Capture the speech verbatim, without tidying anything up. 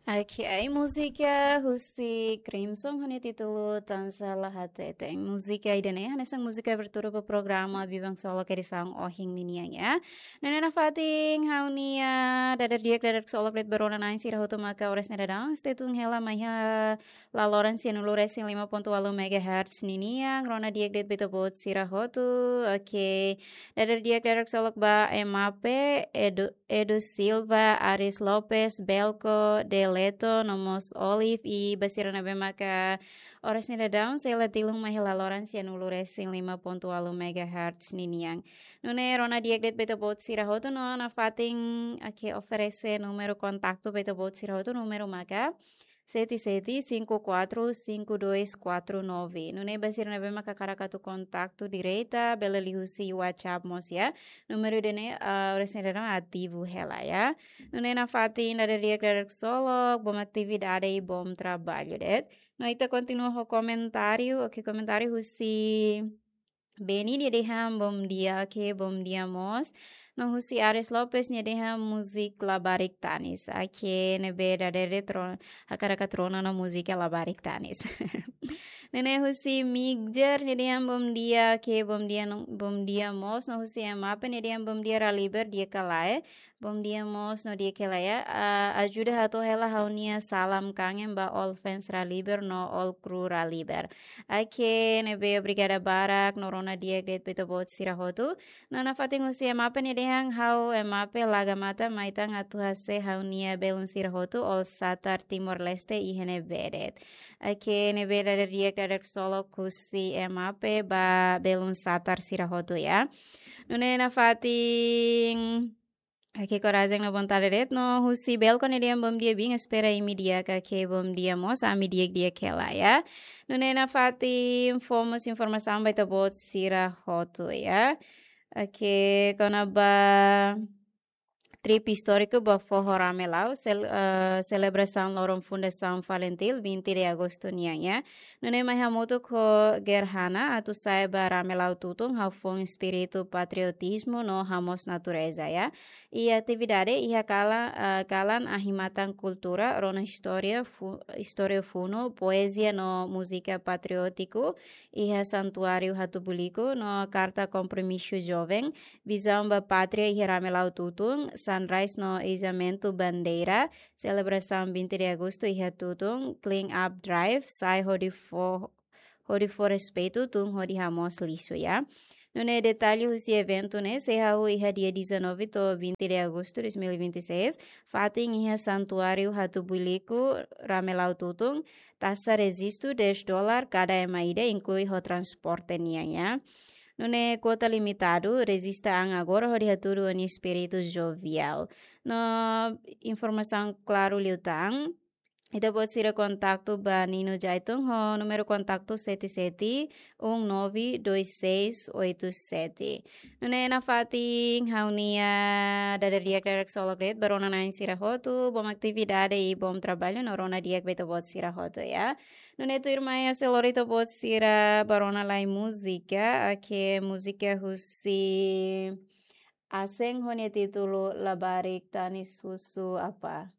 Oke, múzika husi Crimson ho nia títulu Tansá La Hateten. Múzika ida-ne'e hanesan múzika abertura ba programa Biban Ksolok edisaun ohin ninian, ya. Nune'e nafatin ha'u-nia dadeer di'ak, dadeer ksolok de'it ba rona-na'in sira hotu maka oras ne'e daudaun stay tune hela mai iha laloran sianulu resin lima pontu ualu megahertz ninian. Rona di'ak de'it ba ita-boot sira hotu. Oke. Dadeer di'ak, dadeer ksolok ba Emape, Edu, Edu Silva, Aris Lopes, Belko, Deleto, no mós Olive, i ba sira ne'ebé maka oras ne'e daudaun sei la tilun mai iha laloran sianulu resin lima pontu ualu megahertz ninian. Nune'e rona di'ak de'it ba ita-boot sira hotu no nafatin, oke, oferese númeru kontaktu ba ita-boot sira hotu, númeru maka sete sete cinco quatro cinco dois quatro nove. Nune'e ba sira ne'ebé maka hakarak atu kontaktu direta, bele liuhusi WhatsApp mós, ya. Númeru ida-ne'e, ah, oras ne'e daudaun ativu hela, ya. Nune'e nafatin dadeer di'ak, dadeer ksolok, bom atividade i bom trabalho de'it. No ita kontinua ho komentáriu, oke, komentáriu husi Beni, nia dehan bom dia, oke, bom dia mós. No husi Ares Lopes, nia dehan múzika Labarik Tanis. Oke, ne'ebé dadeer de'it ro-, hakarak atu rona ona múzika Labarik Tanis. Nune'e husi Migjer, nia dehan bom dia, oke, bom dia no, bom dia mós. No husi Emape, nia dehan bom dia Raliber, di'ak ka lae. Bom dia mós no di'ak ka lae, ya. Ah, ajuda hato'o hela ha'u-nia salam kangen ba all fans Raliber no all crew Raliber. Oke, ne'ebé obrigada barak no rona di'ak de'it ba ita-boot sira hotu. No nafatin husi Emape, nia dehan ha'u Emape, Laga Mata mai tan atu hase'e ha'u-nia belun sira hotu all Satar Timor-Leste iha ne'ebé de'it. Oke, ne'ebé dadeer di'ak, dadeer ksolok husi Emape ba belun Satar sira hotu, ya. Nune'e nafatin, oke, korajen no vontade de'it. No husi Belko, nia dehan bom dia bin, espera imi di'ak, oke, bom dia mós, ami di'ak-di'ak hela, ya. Nune'e nafatin fó mós informasaun ba ita-boot sira hotu, ya. Oke, kona-ba trip istóriku ba foho Ramelau, sel-, eh, selebrasaun loron fundasaun Falintil, vinte de agosto nian, ya. Nune'e mai hamutuk ho Gerhana atu sa'e ba Ramelau tutun, ha'u foin espíritu patriotizmu no hamoos natureza, ya. I atividade iha kala-, eh, kalan ahi-matan kultura, rona istória fu-, istória funu, poezia no múzika patriótiku, iha Santuáriu Hatubuiliku, no karta kompromisu joven, vizaun ba pátria iha Ramelau tutun, sunrise no izamentu bandeira, selebrasaun vinte de agosto iha tutun, clean up drive, sai hodi fó, hodi fó respeitu, tun hodi hamoos lixu, ya. Nune'e detalle husi eventu ne'e sei hahú iha dia dezanove to'o vinte de agosto dois mil e vinte e seis, fatin iha Santuáriu Hatubuiliku, Ramelau tutun, taxa rejistu dez dólar kada ema ida, inklui ho transporte nian, ya. Nune'e kuota limitadu, rejista an agora hodi hatudu ó-nia espíritu jovial. No informasaun klaru liután, ita-boot sira kontaktu ba Nino Jaitung ho númeru kontaktu sete sete um nove dois seis oito sete. Nune'e nafatin ha'u-nia dadeer di'ak, dadeer ksolok de'it ba rona-na'in sira hotu, bom atividade i bom trabalho no rona di'ak ba ita-boot sira hotu, ya. Nune'e tuirmai ha'u sei lori ita-boot sira ba rona lai múzika, oke, múzika husi Asen ho nia títulu Labarik Tanis Husu Apá.